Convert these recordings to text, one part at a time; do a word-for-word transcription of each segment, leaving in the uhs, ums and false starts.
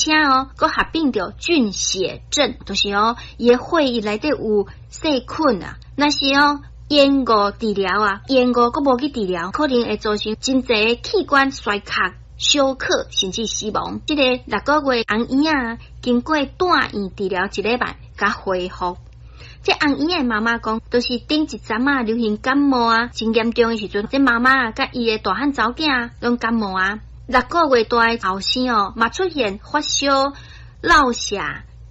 且哦，閣合併著菌血症，就是哦，伊的血液內底有細菌啊。若是哦，延誤治療啊，延誤閣無去治療，可能會造成真濟器官衰竭、休克，甚至死亡。這個六個月紅嬰仔經過住院治療一禮拜，才恢復。這紅嬰仔媽媽講，就是頂一陣仔流行感冒啊，真嚴重的時陣，這媽媽佮伊的大漢查某囝攏感冒啊。六個月大的後生哦，嘛出現發燒、落瀉、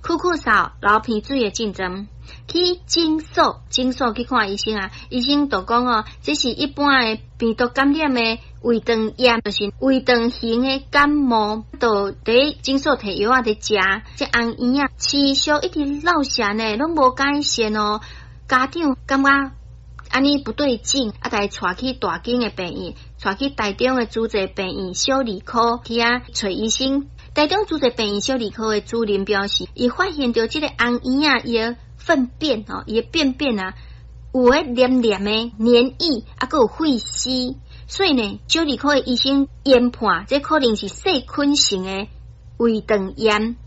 咳咳嗽、流鼻水的症狀。去診所，診所去看醫生啊，醫生就講哦，這是一般的病毒感染的胃腸炎，就是胃腸型的感冒，就佇診所提藥仔佇食。這紅嬰仔持續一直落瀉呢，攏無改善哦。家長感覺按呢不對勁，啊，共伊帶去大間的病院，帶去台中的慈濟病院小兒科去遐揣醫生。台中慈濟病院小兒科的主任表示，伊發現著這個紅嬰仔伊的糞便吼，伊的便便啊，有彼黏黏的黏液，啊，閣有血絲，所以呢，小兒科的醫生研判，這可能是細菌性的胃腸炎，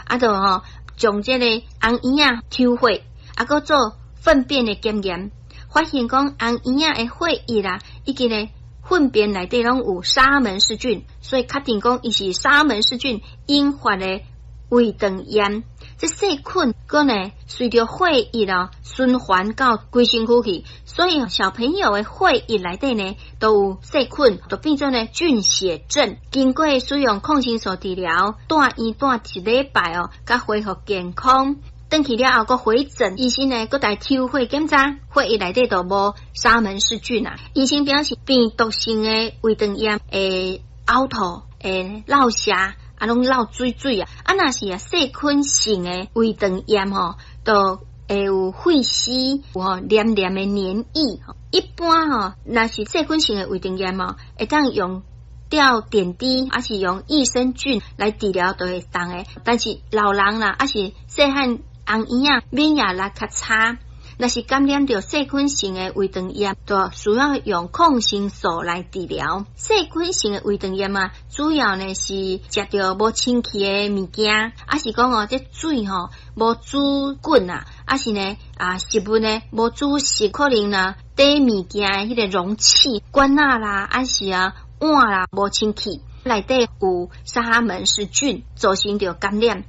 啊，就吼將這個紅嬰仔抽血，啊，閣做糞便的檢驗，發現講紅嬰仔的血液啦，以及呢糞便內底攏有沙門氏菌，所以確定講伊是沙門氏菌引發的胃腸炎。這細菌閣呢隨著血液哦循環到規身軀去，所以小朋友的血液內底呢都有細菌，就變做呢菌血症。經過使用抗生素治療，住院住一禮拜哦，才恢復健康。轉去了後，閣回診，醫生呢閣共抽血檢查，血液內底都無沙門氏菌啊。醫生表示，病毒性的胃腸炎會嘔吐、會落瀉，啊，攏落水水啊。啊，若是啊細菌性的胃腸炎吼，就會有血絲，有吼黏黏的黏液。一般吼，若是細菌性的胃腸炎哦，會當用吊點滴，抑是用益生菌來治療，就會當的。但是老人啦，抑是細漢紅嬰仔免疫力較差，若是感染著細菌性的胃腸炎，就需要用抗生素來治療。細菌性的胃腸炎啊，主要呢是食著無清氣的物件，抑是講哦，這水吼無煮滾啊，抑是呢啊食物呢無煮熟，可能呢佇物件的彼個容器、罐仔啦，抑是啊碗啦無清氣，內底有沙門氏菌造成著感染。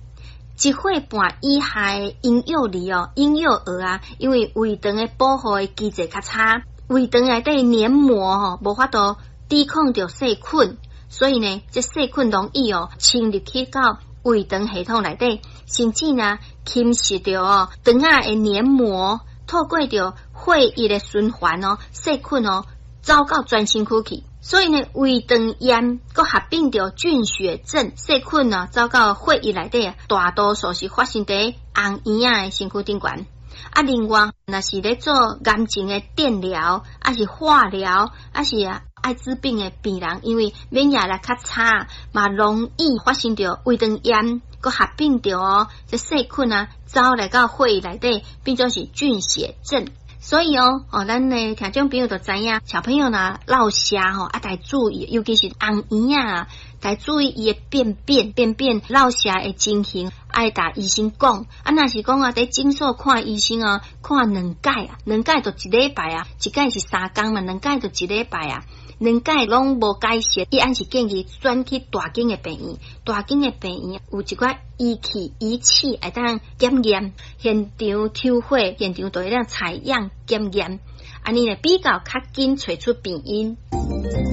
一歲半以下的嬰幼兒哦，嬰幼兒啊，因為胃腸的保護的機制較差，胃腸內底黏膜吼無法度抵抗著細菌，所以呢，這細菌容易哦侵入去到胃腸系統內底，甚至呢侵蝕著哦腸仔的黏膜，透過著血液的循環哦，細菌哦走到全身軀去。所以呢，胃腸炎閣合併著菌血症，細菌啊走到血液內底啊，大多數是發生佇紅嬰仔的身軀頂懸。啊，另外，若是咧做癌症的電療，抑是化療，抑是啊艾滋病的病人，因為免疫力較差，嘛容易發生著胃腸炎，閣合併著哦，這細菌啊走來到血液內底，變做是菌血症。所以哦，哦，咱的聽眾朋友就知影，小朋友若落瀉吼，啊，著注意，尤其是紅嬰仔啊，著注意伊的便便便便落瀉的情形，愛共醫生講。啊，若是講啊，佇診所看醫生哦，看兩擺啊，兩擺就一禮拜啊，一擺是三工嘛，兩擺就一禮拜啊。兩擺攏無改善，伊還是建議轉去大間的病院。大間的病院有一寡儀器儀器會當檢驗，現場抽血，現場就會當採樣檢驗，按呢會比較較緊揣出病因。